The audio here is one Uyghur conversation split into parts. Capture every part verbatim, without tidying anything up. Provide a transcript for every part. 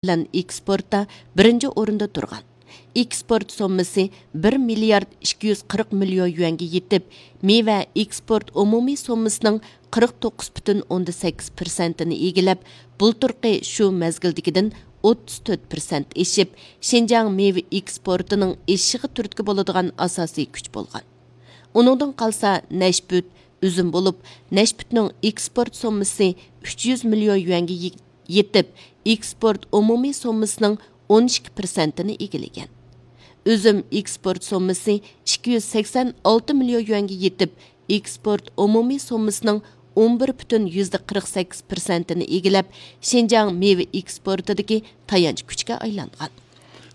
بىلەن ئېكسپورتتا بىرىنچى ئورۇندا تۇرغان. ئېكسپورت سوممىسى بىر مىليارد ئىككى يۈز قىرىق مىليون يۈەنگە يېتىپ، مېۋە ئېكسپورت ئومۇمىي سوممىسىنىڭ قىرىق توققۇز پۈتۈن ئوندىن سەككىز پىرسەنتىنى ئىگىلەپ، بۇلتۇرقى شۇ مەزگىلدىكىدىن ئوتتۇز تۆت پىرسەنت ئېشىپ، شىنجاڭ مېۋە ئېكسپورتىنىڭ ئېشىشىغا تۈرتكە بولىدىغان ئاساسىي كۈچ بولغان. ئۇنىڭدىن قالسا نەشپۈت، ئۈزۈم بولۇپ، نەشپۈتنىڭ ئېكسپورت سوممىسى ئۈچ يۈز مىليون يۈەنگە يېتىپ، ئېكسپورت ئومۇمىي سوممىسىنىڭ ئون ئىككى پىرسەنتىنى ئىگىلىگەن. ئۈزۈم ئېكسپورت سوممىسى ئىككى يۈز سەكسەن ئالتە مىليون يۈەنگە يېتىپ، ئېكسپورت ئومۇمىي سوممىسىنىڭ ئون بىر پۈتۈن يۈزدە قىرىق سەككىز پىرسەنتىنى ئىگىلەپ، شىنجاڭ مېۋە ئېكسپورتىدىكى تايانچ كۈچكە ئايلانغان.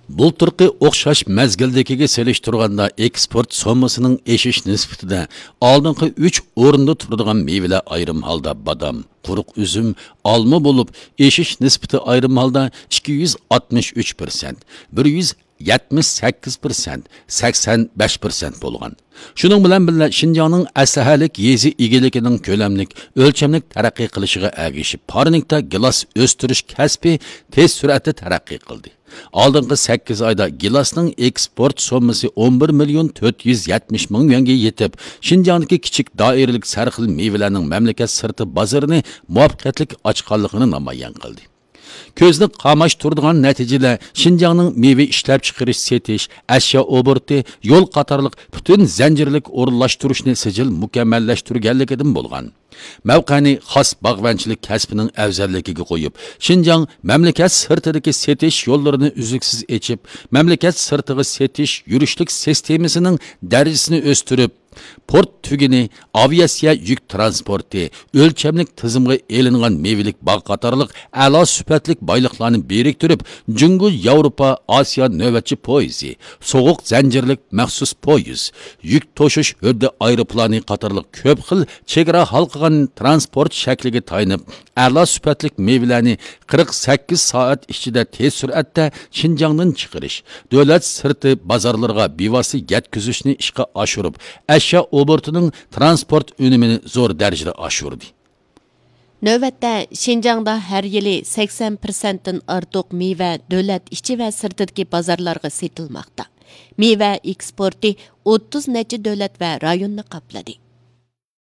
بۇلتۇرقى ئوخشاش مەزگىلدىكىگە سېلىشتۇرغاندا، ئېكسپورت سوممىسىنىڭ ئېشىش نىسبىتىدە ئالدىنقى ئۈچ ئورۇندا تۇرىدىغان مېۋىلەر ئايرىم ھالدا بادام، قۇرۇق ئۈزۈم، ئالما بولۇپ، ئېشىش نىسبىتى ئايرىم ھالدا ئىككى يۈز ئاتمىش ئۈچ پىرسەنت، بىر يۈز يەتمىش سەككىز پىرسەنت، سەكسەن بەش پىرسەنت بولغان. شۇنىڭ بىلەن بىللە، شىنجاڭنىڭ ئەسلىھەلىك يېزا ئىگىلىكىنىڭ كۆلەملىك، ئۆلچەملىك تەرەققىي قىلىشىغا ئەگىشىپ، پارنىكتا گىلاس ئۆستۈرۈش كەسپى تېز سۈرئەتتە تەرەققىي قىلدى. ئالدىنقى سەككىز ئايدا گىلاسنىڭ ئېكسپورت سوممىسى ئون بىر مىليون تۆت يۈز يەتمىش مىڭ يۈەنگە يېتىپ، شىنجاڭدىكى كىچىك دائىرىلىك سەرخىل مېۋىلەرنىڭ مەملىكەت سىرتى بازىرىنى مۇۋەپپەقىيەتلىك ئاچقانلىقىنى نامايان قىلدى. كۆزنى قاماشتۇرىدىغان نەتىجىلەر شىنجاڭنىڭ مېۋە ئىشلەپچىقىرىش، سېتىش، ئەشيا ئوبوروتى، يول قاتارلىق پۈتۈن زەنجىرلىك ئورۇنلاشتۇرۇشنى سىجىل مۇكەممەللەشتۈرگەنلىكىدىن بولغان. مەۋقەنى خاس باغۋەنچىلىك كەسپىنىڭ ئەۋزەللىكىگە قويۇپ، شىنجاڭ مەملىكەت سىرتىدىكى سېتىش يوللىرىنى ئۈزلۈكسىز ئېچىپ، مەملىكەت سىرتىغا سېتىش يۈرۈشلۈك سىستېمىسىنىڭ دەرىجىسىنى ئۆستۈرۈپ، پورت تۈگۈنى، ئاۋىئاتسىيە يۈك تىرانسپورتى، ئۆلچەملىك تىزىمغا ئېلىنغان مېۋىلىك باغ قاتارلىق ئەلا سۈپەتلىك بايلىقلارنى بىرىكتۈرۈپ، جۇڭگو ياۋروپا ئاسىيا نۆۋەتچى پويىزى، سوغۇق زەنجىرلىك مەخسۇس پويىز، يۈك توشۇش ھۆددە ئايروپىلانى قاتارلىق كۆپ خىل چېگرا ھالقىغان تىرانسپورت شەكلىگە تايىنىپ، ئەلا سۈپەتلىك مېۋىلەرنى قىرىق سەككىز سائەت ئىچىدە تېز سۈرئەتتە شىنجاڭدىن چىقىرىش، دۆلەت سىرتى بازارلىرىغا بىۋاسىتە يەتكۈزۈشنى ئىشقا ئاشۇرۇپ، ئەشيا ئوبوروتىنىڭ تىرانسپورت ئۈنۈمىنى زور دەرىجىدە ئاشۇردى. نۆۋەتتە، شىنجاڭدا ھەر يىلى سەكسەن پىرسەنتتىن ئارتۇق مېۋە دۆلەت ئىچى ۋە سىرتىدىكى بازارلارغا سېتىلماقتا. مېۋە ئېكسپورتى ئوتتۇز نەچچە دۆلەت ۋە رايوننى قاپلىدى.